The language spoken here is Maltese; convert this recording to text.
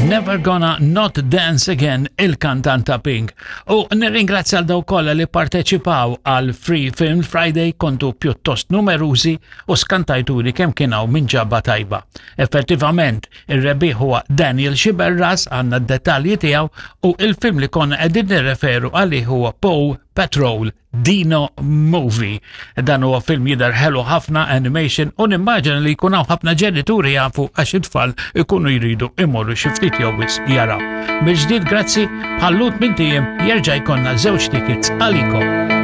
Never Gonna Not Dance Again il-kantanta Pink. U nirringrazzja għal dawk kollha li parteċipaw għal Free Film Friday kontu pjuttost numerużi u skantajtuni kemm kien hawn minn ġabba tajba. Effettivament, ir-rebbieħ huwa Daniel Xiberras għandna d-dettalji tiegħu u il-film li konna qegħdin nirreferu għalih huwa Paw Patrol Dino Movie. Dan huwa film jidher ħelu ħafna animation u nimmaġina li jkun hawn ħafna ġenituri jafu għax it-tfal ikunu jridu imorru xi ftit jew wisq jaraw. Mill-ġdid grazzi bħallut minn tiem jerġa' jkollna żewġ tickets għalikom.